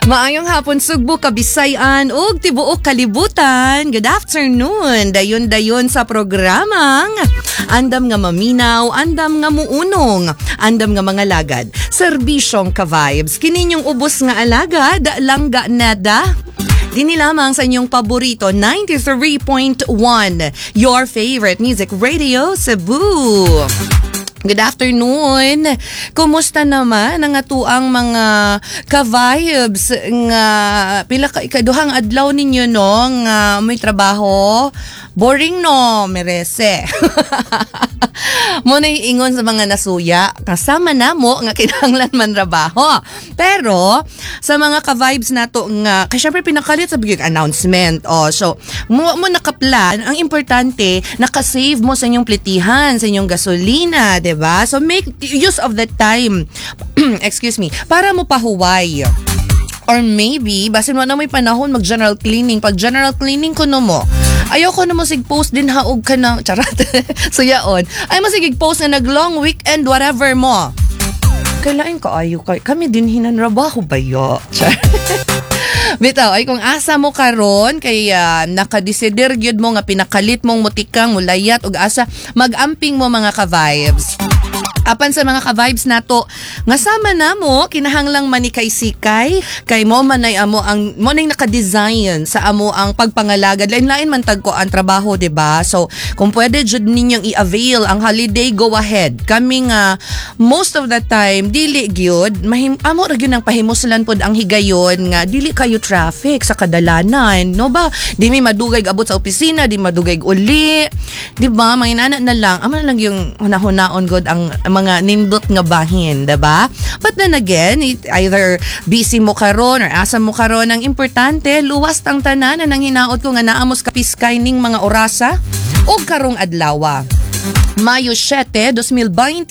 Maayong hapon, Sugbo, Kabisayan ug tibuok kalibutan. Good afternoon. Dayon-dayon sa programang Andam nga Maminaw, Andam nga Muunong, Andam nga mga lagad. Serbisyong ka-vibes. Kininyong ubos nga alagad, Langga Neda. Dini lamang sa inyong paborito, 93.1, your favorite music radio, Cebu. Good afternoon. Kumusta naman ang atuang mga ka-vibes nga pila ka ikaduhang adlaw ninyo, no, nga may trabaho? Boring, no, merese. Mo na ingon sa mga nasuya, kasama na mo nga kinahanglan man trabaho. Pero sa mga ka-vibes nato nga kay syempre pinakalit sa big announcement. Oh, so mo mo nakaplan, ang importante naka-save mo sa inyong plitihan, sa inyong gasolina, 'di ba? So make use of the time. Excuse me, para mo pahuway. Or maybe, basin mo na may panahon mag general cleaning. Pag general cleaning ko no mo, ayaw ko na mo sig post din haog ka na, charot. So yaon. Ay mo sige post na nag long weekend whatever mo. Kailangan ko ayo kay kami din hinanrabaho ba yo? Char. Bitaw, ay kung asa mo karon kay nakadesider gyud mo nga pinakalit mong mutikang mulayat ug asa magamping mo, mga ka-vibes. Apan sa mga ka-vibes nato nga sama na mo kinahanglang manikay sikay kay mo manay amo ang mo nay naka-design sa amo ang pagpangalagad. Lain-lain man tag ko ang trabaho, di ba? So kung pwede jud ninyong i-avail ang holiday, go ahead. Kami nga most of the time dili gyud mahim amo ra gyud ang pahimuslan pod ang higayon nga dili kayo traffic sa kadalanan, no ba? Di mi madugay abot sa opisina, di madugay uli, di ba? Mga na lang amo na lang yung hunahunaon god ang mga nindot nga bahin, 'di ba? But then again, either busy mo karon or asa mo karon, ang importante luwas tang tanan na nang hinaot ko nga naamos kapiskay ning mga orasa og karong adlawa. Mayo 7, 2026.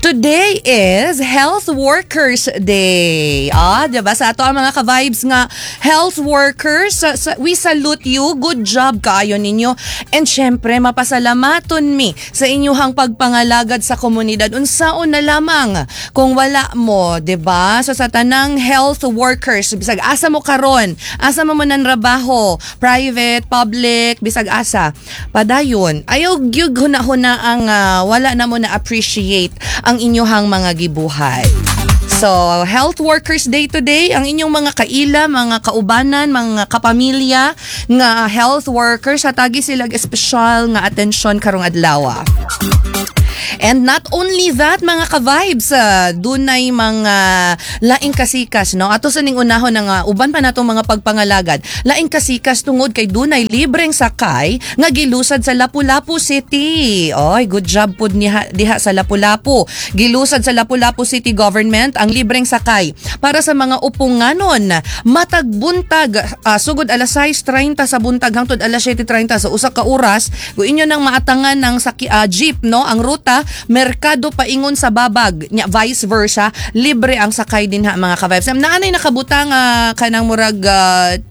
Today is Health Workers Day. Ah, 'di ba? Sa ato ang mga ka-vibes nga health workers, we salute you. Good job kaayo ninyo. And syempre, mapasalamaton mi sa inyuhang pagpangalagad sa komunidad. Unsaon na lamang kung wala mo, 'di ba? So sa tanang health workers, bisag asa mo karon, asa mo man nanrabaho, private, public, bisag asa, padayon. Ayaw gyud huna-huna ang wala na mo na appreciate ang inyuhang mga gibuhat. So, Health Workers Day today, ang inyong mga kaila, mga kaubanan, mga kapamilya nga health workers, hatagi sila espesyal nga atensyon karong adlaw. And not only that, mga ka-vibes, dunay mga laing kasikas, no? Ato sa ning unahon nga uban pa natong mga pagpangalagad. Laing kasikas tungod kay dunay libreng sakay nga gilusad sa Lapu-Lapu City. Oy, good job pud niha diha sa Lapu-Lapu. Gilusad sa Lapu-Lapu City Government ang libreng sakay para sa mga uponganon matag buntag, sugod alas 6:30 sa buntag hangtod alas 7:30 sa usa ka oras. Kung inyo nang maatangan ng saki, jeep, no, ang ruta merkado paingon sa Babag nya vice versa, libre ang sakay dinha, mga ka-vibes. Naanay nakabutang kanang murag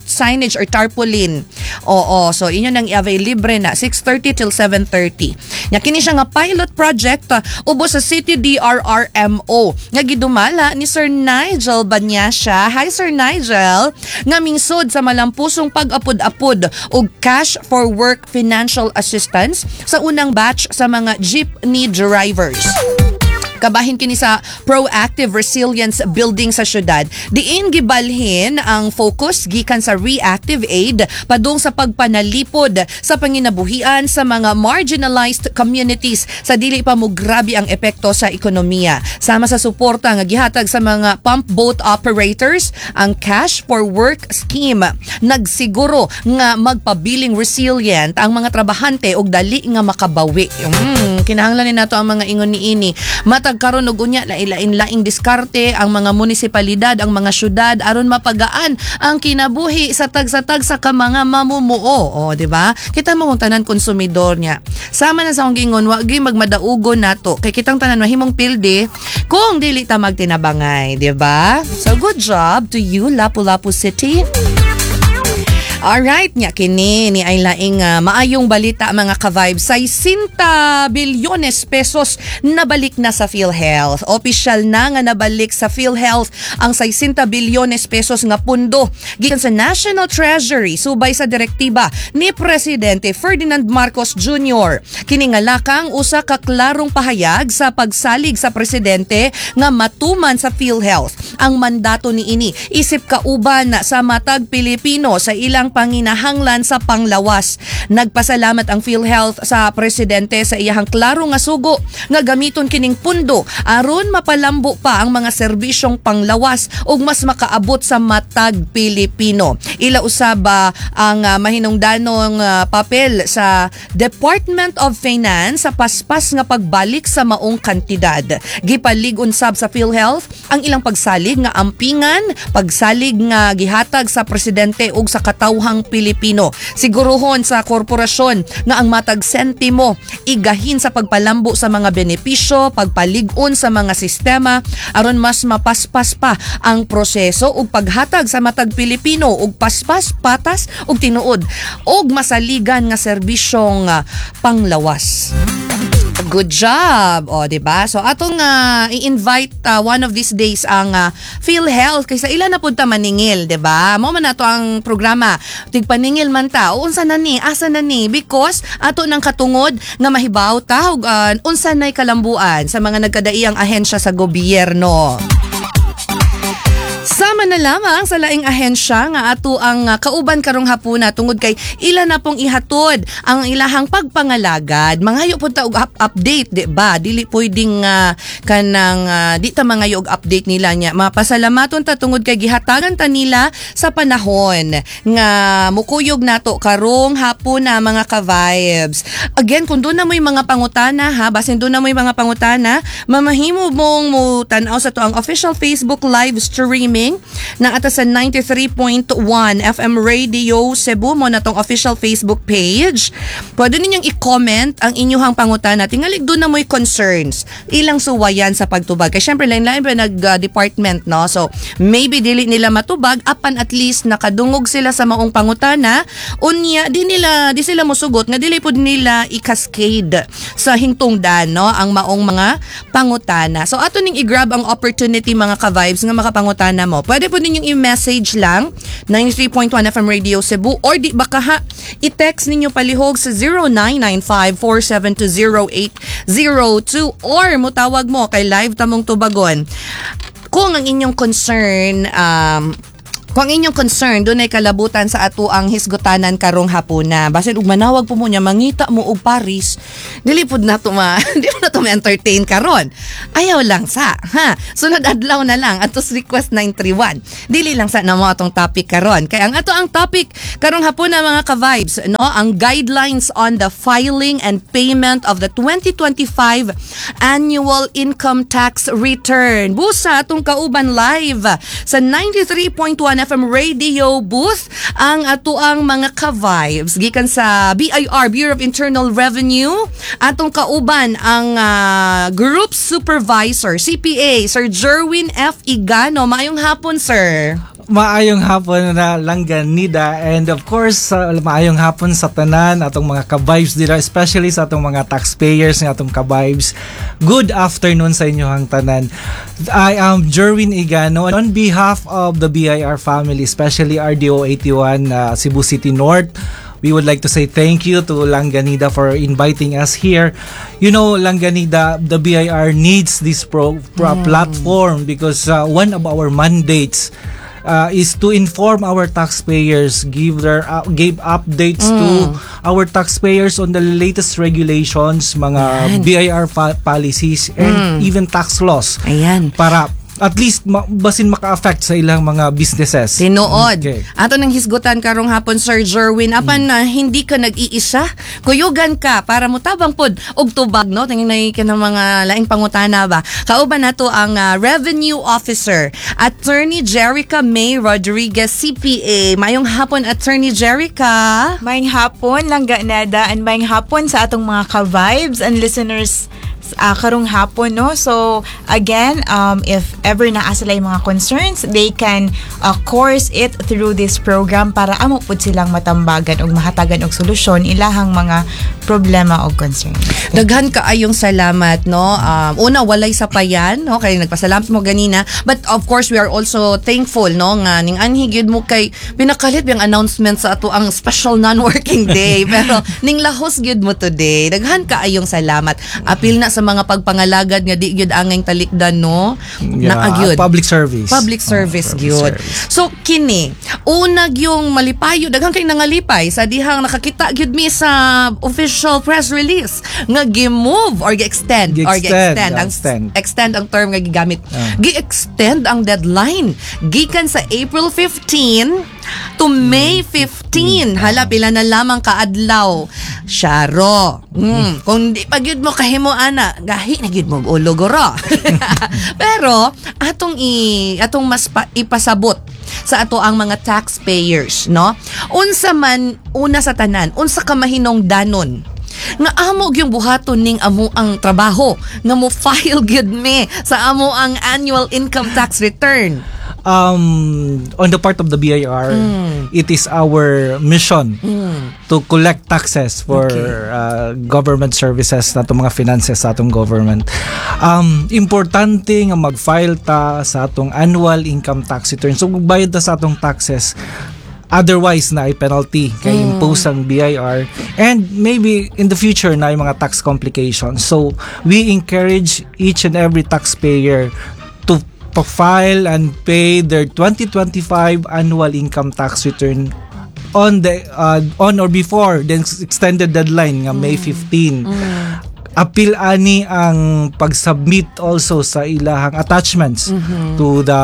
signage or tarpaulin. Oo, so inyo nang i-avail, libre na 6:30 till 7:30. Nya kini siya nga pilot project ubos sa City DRRMO nga gidumala ni Sir Nigel Banyasha. Hi, Sir Nigel, nga mingsod sa malampusong pag-apod-apod og cash for work financial assistance sa unang batch sa mga jeepney drivers. Kabahin kini sa proactive resilience building sa syudad. Diin gibalhin ang focus gikan sa reactive aid padung sa pagpanalipod sa panginabuhian sa mga marginalized communities sa dili pa mo grabe ang epekto sa ekonomiya. Sama sa suporta nga gihatag sa mga pump boat operators, ang Cash for Work scheme nagsiguro nga magpabiling resilient ang mga trabahante og dali nga makabawi. Kinahanglan ni nato ang mga ingon niini. Matag karon og unya lain-laing diskarte ang mga munisipalidad, ang mga syudad aron mapagaan ang kinabuhi sa tagsa-tagsa ka mga mamumuo. O, di ba? Kita mo kung tanan konsumidor niya. Sama na sa akong giingon, wa gyud magmadaugo nato kay kitang tanan mahimong pildi kung dili ta magtinabangay, di ba? So good job to you, Lapu-Lapu City. Alright, nya kini ni ay laing maayong balita, mga ka-vibes. 60 bilyones pesos nabalik na sa PhilHealth. Opisyal na nga nabalik sa PhilHealth ang 60 bilyones pesos nga pundo gikan sa National Treasury subay sa direktiba ni Presidente Ferdinand Marcos Jr. Kini nga lakang usa ka klarong pahayag sa pagsalig sa presidente nga matuman sa PhilHealth ang mandato niini isip kauban sa matag Pilipino sa ilang panginahanglan sa panglawas. Nagpasalamat ang PhilHealth sa presidente sa iyahang klaro nga sugo nga gamiton kining pundo aron mapalambo pa ang mga serbisyong panglawas ug mas makaabot sa matag Pilipino. Ila usab ang mahinungdanong papel sa Department of Finance sa paspas nga pagbalik sa maong kantidad. Gipalig-on sab sa PhilHealth ang ilang pagsalig nga ampingan, pagsalig nga gihatag sa presidente ug sa katawhang Pilipino. Siguruhon sa korporasyon nga ang matag sentimo igahin sa pagpalambo sa mga benepisyo, pagpalig-on sa mga sistema aron mas mapaspas pa ang proseso ug paghatag sa matag Pilipino og paspas, patas ug tinuod ug masaligan nga serbisyong panglawas. Good job. O, di ba? So atong i-invite one of these days ang PhilHealth kaysa ila na pud ta maningil, di ba? Mao man nato ang programa. Tigpaningil man ta. O, unsa na ni? Asa na ni? Because ato nang katungod nga mahibaw ta og unsa nay kalambuan sa mga nagkadaiyang ahensya sa gobyerno. Sama na lamang sa laing ahensya nga ato ang kauban karong hapuna tungod kay ila na pong ihatod ang ilahang pagpangalagad. Mangayo pud ta og update, di ba? Dili pwedeng kanang di ta mangayo og update nila nya. Mapasalamaton ta tungod kay gihatagan ta nila sa panahon nga mukuyog nato karong hapuna, mga ka-vibes. Again, kung duna mo'y mga pangutana ha, basin duna mo'y mga pangutana, mamahimo mong mo tan-aw sa atoang official Facebook live streaming na ata sa 93.1 FM Radio Cebu mao na tong official Facebook page. Pwede ninyong i-comment ang inyong pangutana. Tingalig duna mo'y concerns. Ilang suwayan sa pagtubag. Kaya syempre, lain-lain pa nag-department, no? So, maybe dili nila matubag, apan at least nakadungog sila sa maong pangutana. Unya, di sila mosugot nga dili pud nila i-cascade sa hingtungdan, no? Ang maong mga pangutana. So, ato ning i-grab ang opportunity, mga ka-vibes, nga makapangutana mo. Pwede po ninyong i-message lang 93.1 FM Radio Cebu or di baka ha, i-text ninyo palihog sa 0995-472-0802 or mutawag mo kay live tamong tubagon. Kung ang inyong concern dunay kalabutan sa ato ang hisgutanan karong hapuna, basin ug manawag po mo niya, mangita mo og Paris, dili pud nato ma di mo na to ma-entertain karon. Ayaw lang sa ha. Sunod adlaw na lang atos request 931. Dili lang sa namo atong topic karon. Kay ang ato ang topic karong hapuna, mga ka-vibes, no, ang guidelines on the filing and payment of the 2025 annual income tax return. Busa atong kauban live sa 93.1 FM Radio booth ang atoang mga ka-vibes gikan sa BIR, Bureau of Internal Revenue. Atong kauban ang Group Supervisor CPA Sir Jerwin F. Igano. Maayong hapon, sir. Maayong hapon na, Langganida, and of course maayong hapon sa tanan atong mga ka-vibes dira, especially sa atong mga taxpayers nga atong ka-vibes. Good afternoon sa inyong tanan. I am Jerwin Igano on behalf of the BIR family, especially RDO 81 Cebu City North. We would like to say thank you to Langganida for inviting us here. Langganida, the BIR needs this platform because one of our mandates is to inform our taxpayers, give updates to our taxpayers on the latest regulations, mga BIR policies, and even tax laws. Ayan. Para at least basin maka-affect sa ilang mga businesses. Tinuod. Okay. Ato nang hisgutan karong hapon, Sir Jerwin, apan na hindi ka nag-iisa, kuyugan ka para mutabang pod og tubag, no, tingin na ka ng mga laing pangutana ba. Kauban nato ang Revenue Officer, Attorney Jerica May Rodriguez CPA. Mayong hapon, Attorney Jerica. Maayong hapon, Langga Neda, and maayong hapon sa atong mga ka-vibes and listeners. Karong hapon, no? So again, if ever naa sila mga concerns, they can course it through this program para amo pud silang matambagan og mahatagan og solusyon ilahang mga problema og concerns. Daghan kaayong salamat, no? Una, walay sapayan, no? Kay nagpasalamat mo ganina. But of course, we are also thankful, no? Nga ning anhi gyud mo kay pinakalit yung announcement sa ato ang special non-working day. Pero ning lahos gyud mo today. Daghan kaayong salamat. Apil na sa mga pagpangalagad nga di gyud angay talikdan, no? Yeah, Naa gyud. Public service. Public Oh, service public gyud. Service. So kini, una gyung malipayo, daghan kay nangalipay sa dihang nakakita gyud mi sa official press release nga gi-move or gi-extend or Gi-extend, gi-extend ang extend. Extend ang term nga gigamit. Ah. Gi-extend ang deadline gikan sa April 15 to May 15. Hala, pila na lamang kaadlaw. Syaro. Kung di pa gyud mo kahimo ana, gahi na gyud mo og ulo guro. Pero atong mas ipasabot sa ato ang mga taxpayers, no? Unsa man, una sa tanan, unsa ka mahinungdanon nga amo gyung buhaton ning amo ang trabaho nga mo file gyud mi sa amo ang annual income tax return? On the part of the BIR, it is our mission to collect taxes for government services na atong mga finances sa atong government. Importante nga mag-file ta sa atong annual income tax return. So magbayad ta sa atong taxes. Otherwise, naay penalty kay impose ang BIR and maybe in the future naay mga tax complications. So we encourage each and every taxpayer to file and pay their 2025 annual income tax return on or before the extended deadline nga May 15. Apil ani ang pag-submit also sa ilahang attachments to the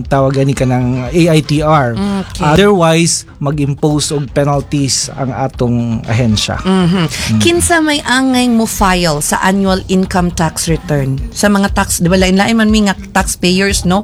tawag ani kanang AITR. Otherwise, mag-impose og penalties ang atong ahensya. Kinsa may angay mo file sa annual income tax return? Sa mga tax, di ba lain-lain man mi nga taxpayers, no?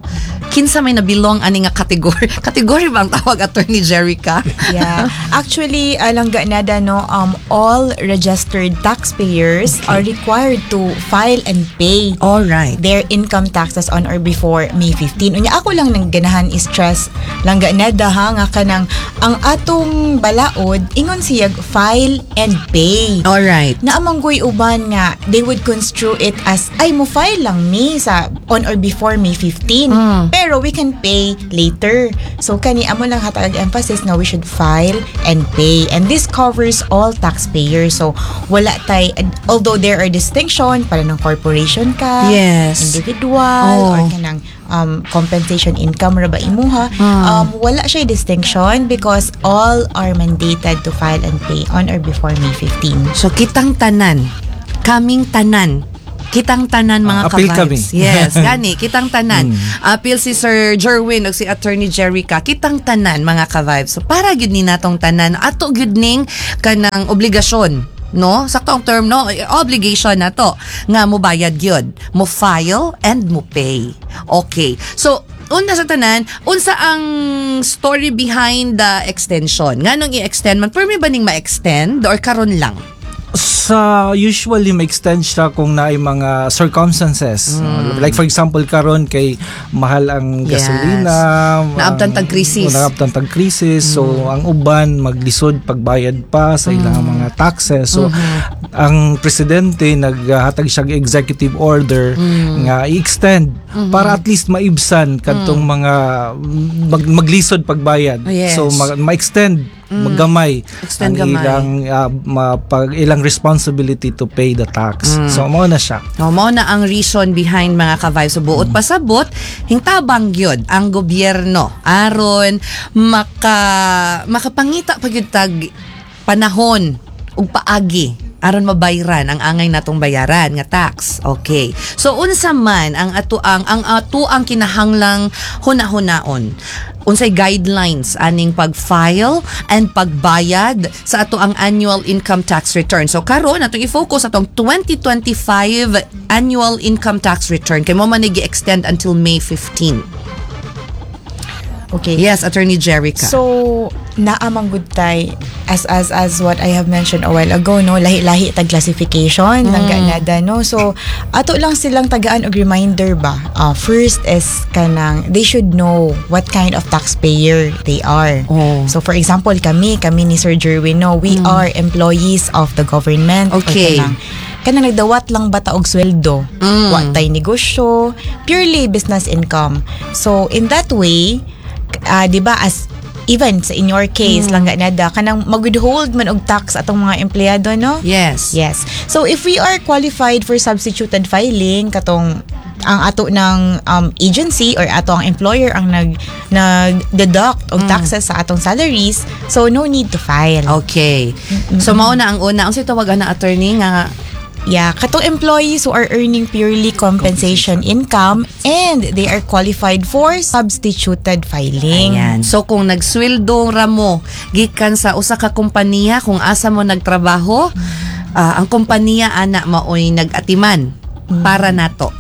Kinsa may nabilong ani nga category? Category ba ang tawag, Attorney Jerica? Yeah. Actually, Langga Nada, no, all registered taxpayers are required to file and pay All right. their income taxes on or before May 15. Unya ako lang nang ganahan stress, Langga Neda, ha, nga kanang ang atong balaod ingon siyag file and pay. All right. Naa man goy uban nga they would construe it as, ay, mo file lang mi sa on or before May 15 pero we can pay later. So kani amo lang hatag emphasis nga we should file and pay, and this covers all taxpayers. So wala tay, although there are distinction para ng corporation ka, individual, or kanang compensation income ra ba imuha, wala siya distinction because all are mandated to file and pay on or before May 15. So kitang tanan, kaming tanan, kitang tanan, mga Ah, apil ka-vibes. kami. Yes, gani, kitang tanan. Apil si Sir Jerwin ug si Attorney Jerica, kitang tanan, mga ka-vibes. So para gyud ni natong tanan, ato gyud ning kanang obligasyon, no? Sakto ang term, no? Obligation na to nga mo bayad gyud, mo file and mo pay. Okay. So una sa tanan, unsa ang story behind the extension? Nganong i-extend man? Permi ba ning ma-extend or karon lang? Sa usually ma-extend siya kung naay mga circumstances. Like for example, karon kay mahal ang gasolina, Naabtan tag crisis. Naabtan tag crisis. So ang uban maglisod pagbayad pa sa ilang mga taxes. So ang presidente naghatag siya og executive order nga i-extend para at least maibsan kadtong mga maglisod pagbayad. So ma-extend maggamay Extend ang gamay. Ilang ilang responsibility to pay the tax. So mao na siya. No, mao na ang reason behind, mga ka-vibes. So, buot pasabot, hingtabang gyud ang gobyerno aron makapangita pa gyud tag panahon ug paagi aron mabayran ang angay natong bayaran nga tax. Okay. So unsa man ang ato ang kinahanglang huna-hunaon? Unsay guidelines aning pag-file and pagbayad sa ato ang annual income tax return? So karon atong i-focus atong 2025 annual income tax return kay mao man ni gi-extend until May 15. Okay. Yes, Attorney Jerica. So, naa man gud tay As what I have mentioned a while ago, no, lahi-lahi tag classification ng ganada, no. So ato lang silang tagaan og reminder ba. First is kanang they should know what kind of taxpayer they are. So for example, kami ni Sir Jerwin, no, we are employees of the government. Or kanang nagdawat lang ba ta og sweldo? Wa tay negosyo, purely business income. So in that way, di ba, as even sa in your case lang ganada, kanang mag-withhold man og tax atong mga empleyado, no? Yes. Yes. So if we are qualified for substituted filing, katong ang ato ng agency or ato ang employer ang nag deduct og taxes sa atong salaries, so no need to file. Okay. So mao na ang una. Ang tawag na, attorney, nga Yeah, katong employees who are earning purely compensation income and they are qualified for substituted filing. Ayan. So kung nagsweldo ra mo gikan sa usa ka kompanya kung asa mo nagtrabaho, ang kompanya ana maoy nag-atiman para nato.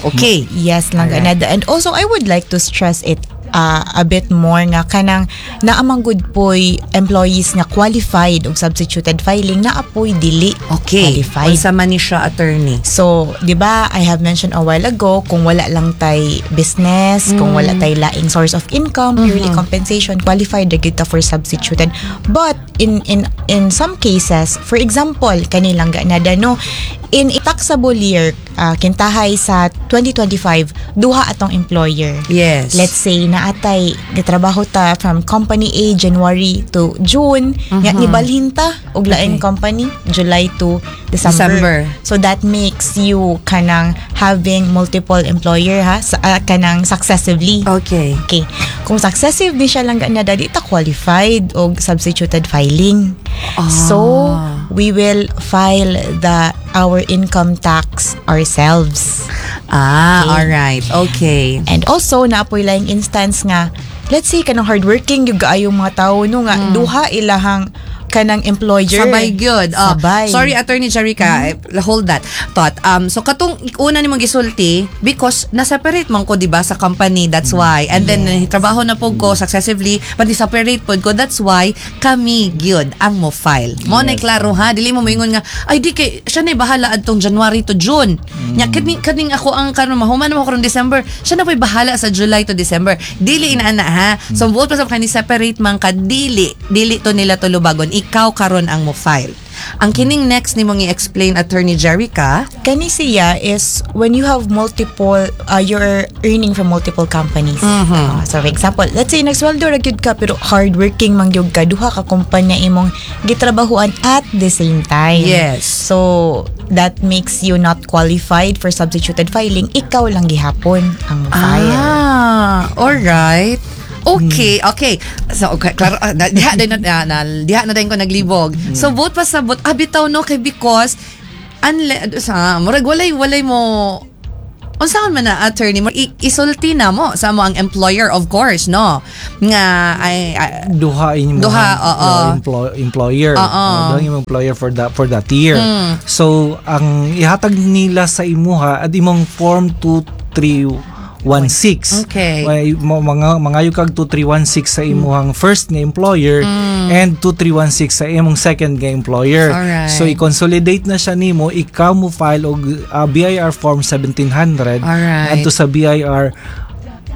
Okay. Yes lang ganada. And also I would like to stress it a bit more nga kanang naa man gud poy employees nga qualified og substituted filing, naa poy dili qualified. Unsa man ni siya, attorney? So, 'di ba, I have mentioned a while ago, kung wala lang tay business, kung wala tay laing source of income, purely compensation, qualified ra gyud ta for substituted. But in some cases, for example, kani lang ganada, no, in a taxable year, kintahay sa 2025, duha atong employer. Let's say naatay gitrabaho ta from company A January to June, nya nibalhin ta og laing company July to December. December. So that makes you kanang having multiple employer ha sa, kanang successively. Okay. Kung successive di siya lang ganada, di ta qualified og substituted filing. So we will file the our income tax ourselves. Alright. Okay. And also, naa poy laing instance nga, let's say, kanang hardworking yung kaayong mga tao, no, nga, duha ilahang kanang employer. Sabay gyud. Oh, Sabay. sorry, Attorney Jerica, hold that thought. So katong una nimong gisulti, because na-separate man ko, di ba, sa company, that's why. And then trabaho na pud ko successively, but separate pod ko, that's why kami gyud ang mo file. Mo na klaro ha, dili mo moingon nga ay di kay siya na bahala adtong January to June. Nya kaning ako ang karon mahuman mo karon December, siya na po'y bahala sa July to December. Dili inaana ha. So buot pa sa kani separate man ka, dili to nila tulubagon. Ikaw karon ang mo file. Ang kining next nimong i-explain, Attorney Jerica, Kani siya is when you have multiple, you're earning from multiple companies. So for example, let's say nagsweldo ra gyud ka pero hardworking man gyud ka, duha ka kumpanya imong gitrabahuan at the same time. So that makes you not qualified for substituted filing. Ikaw lang gihapon ang file. Ah, alright. Okay. So, okay, klaro, diha din na, diha na din ko naglibog. So, buot pa sa buot, bitaw no, kay because, unle, sa, murag walay mo, unsaon man na, attorney mo, isulti na mo sa mo ang employer, of course, no? Nga, ay, Duha inyong Duha, oo. Employer. Oo. Duha imong employer for that year. So ang ihatag nila sa imuha at imong form 2316. May mga mangayo kag 2316 sa imuhang first nga employer and 2316 sa imong second nga employer. So i-consolidate na siya nimo, ikaw mo file og BIR form 1700 adto sa BIR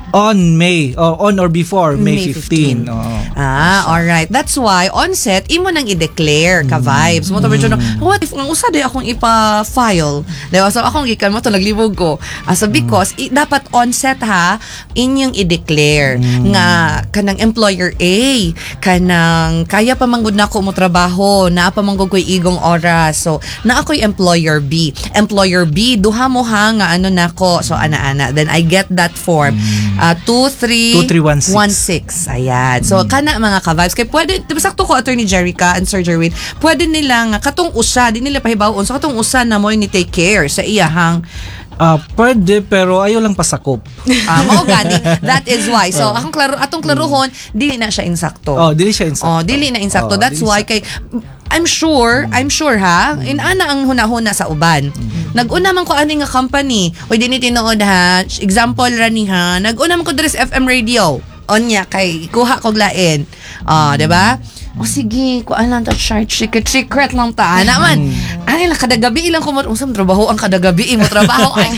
on May o on or before May May 15. 15. Oo. Ah, alright. That's why on set imo nang i-declare ka vibes. Mo to medyo, what if ang usa di akong ipa-file? Diba? So akong gikan mo to naglibog ko. Ah, so because dapat on set ha inyong i-declare nga kanang employer A, kanang kaya pa man gud nako mo trabaho, naa pa man gud ko'y igong oras. So naa ko'y employer B. Employer B duha mo ha nga ano nako. So ana-ana. Then I get that form. 2 3 2316. 16. Ayan. So, kana mga ka-vibes. Kay pwede, di ba sakto ko, Attorney Jerica and Sir Jerwin, pwede nila nga, katong usa, di nila pahibaw-on. So, katong usa na mo ni take care sa iyahang Ah, pwede pero ayaw lang pasakop. Mao gani. That is why. So, akong klaro, atong klaruhon, dili na siya insakto. Oh, dili siya insakto. Oh, dili na insakto. Oh, That's dili why kay I'm sure ha, inana ang hunahuna sa uban. Nag-una man ko ani nga company. Oy, dini tinuod ha. Example ra ni ha. Nag-una man ko diri sa FM radio. Onya kay kuha kog lain. Ah, 'di ba? O sige, kuan lang ta, charge, secret, secret lang ta. Ana man. Ani lang kada gabi ilang ko unsa trabaho ang kada gabi mo trabaho ay.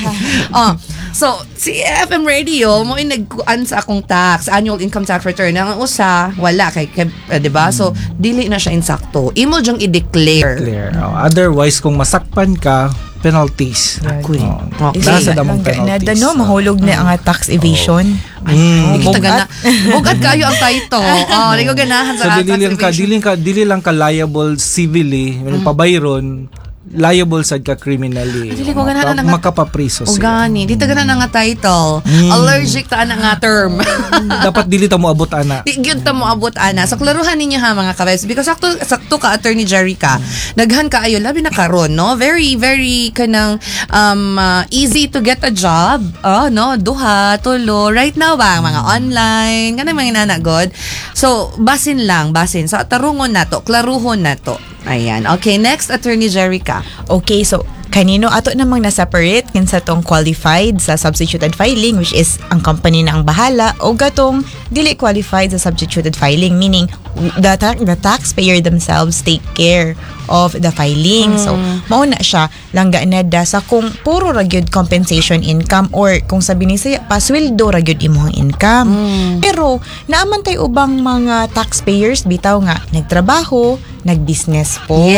Oh, so si FM Radio mo nagkuan sa akong tax, annual income tax return. Ang usa wala kay, 'di ba? So dili na siya insakto. Imo jung i-declare. Clear. Oh, otherwise, kung masakpan ka, penalties. Ako'y. Oh, Okay. nasa damong Langga na penalties. no, mahulog na ang tax evasion. Di kita gana. Bugat kayo ang title. Oh, di ko ganahan So sa dili tax lang ka evasion. dili lang ka liable civilly, mm. Pabayron, liable sad ka criminally. Ay, dili ko ganahan na nga- Makapapriso O sila. gani, di ta ganahan nga title. Allergic ta ana nga term. Dapat dili ta moabot ana. Di gyud ta moabot ana. So klaruhan ninyo ha, mga ka-vibes, because sakto sakto ka, Attorney Jerry ka. Daghan kaayo labi na karon, no? Very very kanang easy to get a job. Oh, no, duha, tulo right now ba ang mga online kanang mga inana god. So basin lang, basin. So tarungon nato, klaruhon nato. Ayan. Okay, next, Attorney Jerica. Okay, so kanino ato namang na-separate kinsa tong qualified sa substituted filing, which is ang company na ang bahala, o gatong dili qualified sa substituted filing, meaning the taxpayer themselves take care of the filing. So mao na siya, langga na da, sa kung puro ra gyud compensation income or kung sabi ni saya pasweldo ra gyud imong income. Pero naaman tay ubang mga taxpayers bitaw nga nagtrabaho, nag-business po.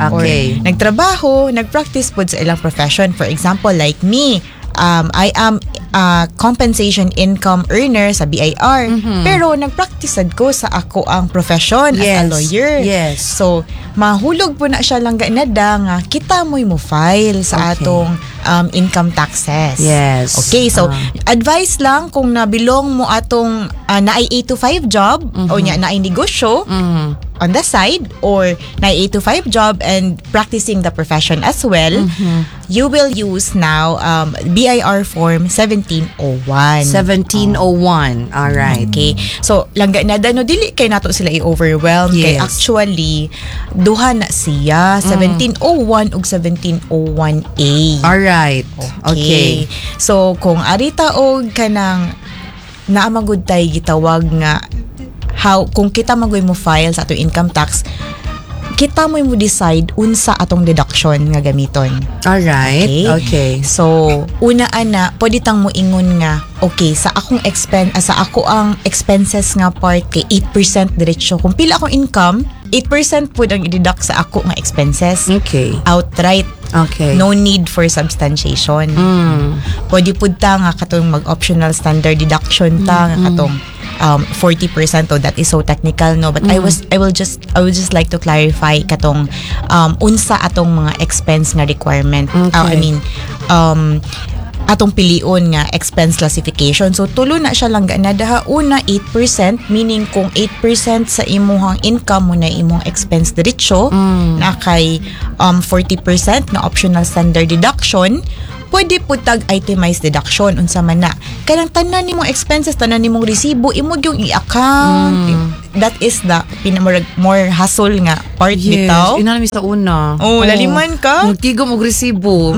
Or nagtrabaho, nag-practice po sa ilang profession. For example, like me, I am a compensation income earner sa BIR. Pero nag-practice sad ko sa ako ang profession as a lawyer. So, mahulog po na siya, langga na da, nga kita mo'y mo file sa atong income taxes. Okay, so advice lang kung nabilong mo atong naay 8 to 5 job o nya naay negosyo on the side or naay 8 to 5 job and practicing the profession as well, you will use now BIR form 1701. 1701. All right. Okay. So, langga na da, no, dili kay nato sila i-overwhelm. Kay actually, duha na siya. 1701 ug 1701A. All right. Okay. So, kung arita og kanang naamagud tay gitawag nga how kung kita magoy mo file sa atong income tax, kita mo decide unsa atong deduction nga gamiton. All right. Okay. So, una ana, pwede tang mo ingon nga, okay, sa ako ang expenses nga part kay 8% diretso. Kung pila akong income, 8% pud ang i-deduct sa ako nga expenses. Outright. No need for substantiation. Pwede pud ta nga katong mag-optional standard deduction ta nga katong 40%. Oh, that is so technical, no, but I would just like to clarify katong unsa atong mga expense nga requirement. I mean, atong pilion nga expense classification. So tulo na siya, lang na daha. Una, 8%, meaning kung 8% sa imuhang income mo na imong expense diretso, na kay 40% na optional standard deduction. Pwede po tag itemized deduction. Unsa man na? Kanang tanan nimong expenses, tanan nimong resibo, imo yung i-account. That is the pinamurag more hassle nga part bitaw. Inana mi sa una. Oh, laliman ka. Magtigom og resibo.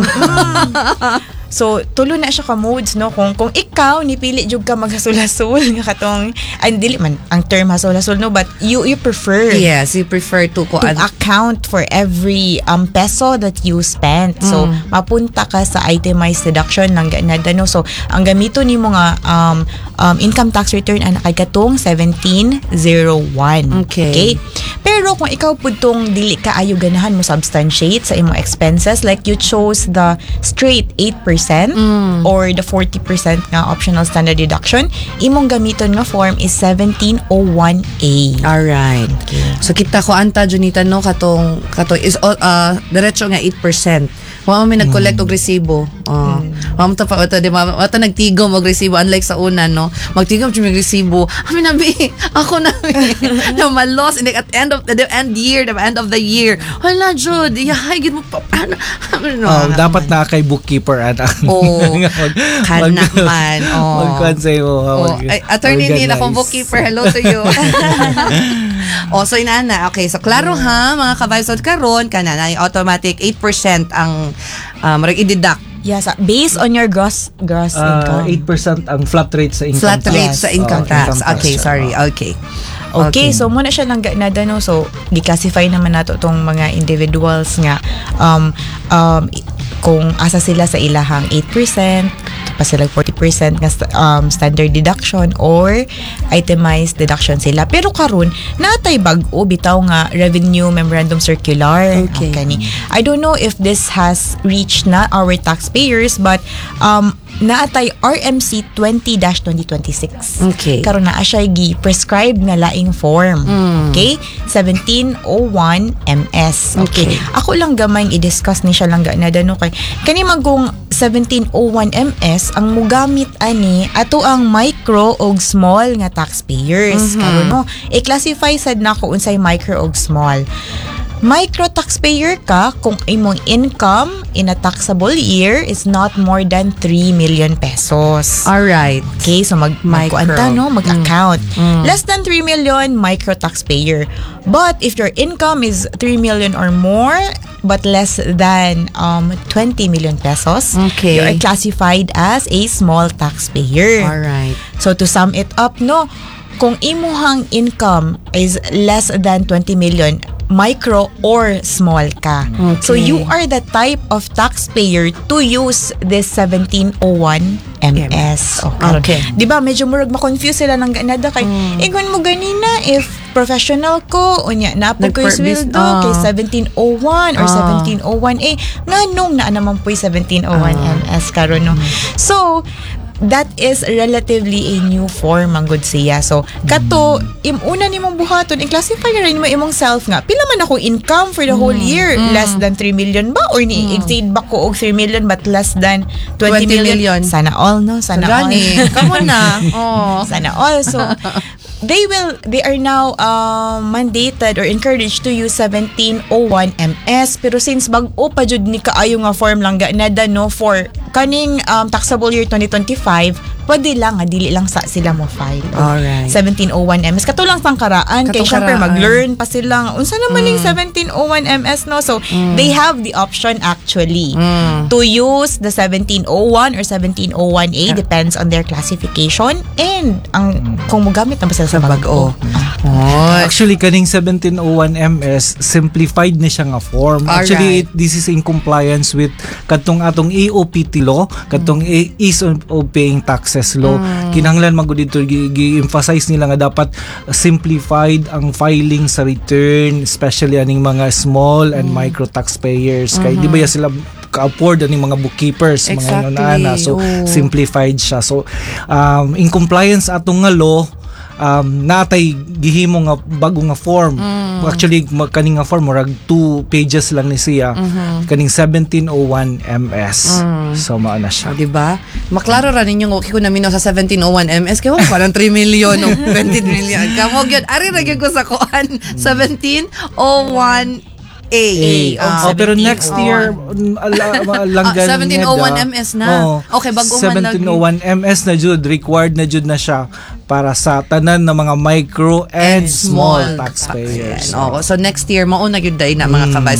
So, tulo na siya ka modes, no? Kung ikaw, nipili jud ka maghasul-hasul nga katong, ay, dili man ang term hasul-hasul, no? But you prefer Yes, you prefer to ko to account for every peso that you spent. So, mapunta ka sa itemized deduction lang ganada, no? So, ang gamito nimo nga income tax return ana kay katong 1701. Okay. Pero kung ikaw pud tong dili ka ayo ganahan mo substantiate sa imong expenses, like you chose the straight 8% or the 40% nga optional standard deduction, imong gamiton nga form is 1701A. Alright. So kita ko anta Junita, no, katong katong is diretso nga 8%. Wa man mi nag-collect og resibo. Oh. Wa mo ta pa di ba? Wa ta nagtigom og resibo unlike sa una, no. Magtigom jud mig resibo. Ami na bi, ako na bi na malos in at end of the end year, the end of the year. Wala jud, yahay gid mo pa ano, ano, Oh, dapat na kay bookkeeper ana. Oh, kana man. Oh. Magkuan sa imo. Oh, ay, Attorney Neil, akong organize. bookkeeper. Hello to you. Oh, so inana. Okay, so klaro ha, mga ka-vibes. So karon kana na automatic 8% ang murag i-deduct. Yes, based on your gross Ah, income. 8% ang flat rate sa income Flat tax. rate sa income Oh, tax. income tax Okay, siya. sorry. Okay. Okay, so mao na siya lang ganada, no. So gi-classify naman nato tong mga individuals nga kung asa sila sa ilahang 8% pa sila, 40% nga standard deduction or itemized deduction sila. Pero karon natay bag-o bitaw nga Revenue Memorandum Circular. Kani. I don't know if this has reached na our taxpayers, but naatay RMC 20-2026. Karon naa siya gi-prescribe nga laing form. Okay? 1701 MS. Okay. Ako lang gamay i-discuss ni siya lang ganada, no, kay kani man kung 1701 MS, ang mugamit ani ato ang micro og small nga taxpayers. Karon, no, i-classify sad nako unsay micro og small. Micro taxpayer ka kung imong income in a taxable year is not more than 3 million pesos. Okay, so Micro. Magkuan ta, no, mag-account. Less than 3 million, micro taxpayer. But if your income is 3 million or more but less than 20 million pesos, you are classified as a small taxpayer. So to sum it up, no, kung imuhang income is less than 20 million, micro or small ka. So you are the type of taxpayer to use this 1701 MS. Oh, karon. Di ba medyo murag ma-confuse sila ng ganada kay ingon mo ganina, if professional ko unya naa po ko'y sweldo kay 1701 or 1701A, nganong naa naman po'y 1701 MS karon, no? So that is relatively a new form man gud siya. So kato im una nimong buhaton, i-classify ra nimo imong self nga pila man ako income for the whole year, less than 3 million ba or ni exceed ba ko og 3 million but less than 20 20 million? Million. Sana all, no? Sana all. Gani, kamo na. Oh. Sana all. So, they are now mandated or encouraged to use 1701 MS. Pero since bag-o pa jud ni kaayo nga form lang ganada, no, for kaning taxable year 2025, pwede lang nga dili lang sa sila mo file 1701 MS. Kato lang pangkaraan kay Katong syempre karaan. mag-learn pa sila nga, unsa naman ning 1701 MS, no? So they have the option actually to use the 1701 or 1701A, depends on their classification and ang kung mogamit na ba sila sa Sa bag-o. bag-o. Oy. Actually, kaning 1701 MS, simplified ni siya nga form. Actually, this is in compliance with kadtong atong EOPT law, kadtong Ease of Paying Taxes law. Kinahanglan man gud dito gi-emphasize nila nga dapat simplified ang filing sa return, especially aning mga small and micro taxpayers. Kay di ba ya sila ka-afford aning mga bookkeepers, mga ingon ana. So simplified siya. So in compliance atong nga law, natay gihimo nga bago nga form. Actually, kaning nga form murag two pages lang ni siya. Kaning 1701 MS. So mao na siya. O, di ba? Maklaro ra ninyo nga okay ko naminaw sa 1701 MS kay wa parang 3 million o 20 million. Kamo gyud ari ra gyud ko sa kuan 1701 A. A. Oh, pero next year langgan 1701 MS na. Oo. Okay, bago man lagi. 1701 MS na jud, required na jud na siya para sa tanan na mga micro and small taxpayers. Oo. So next year mao na gyud day na, mga kabay. Sa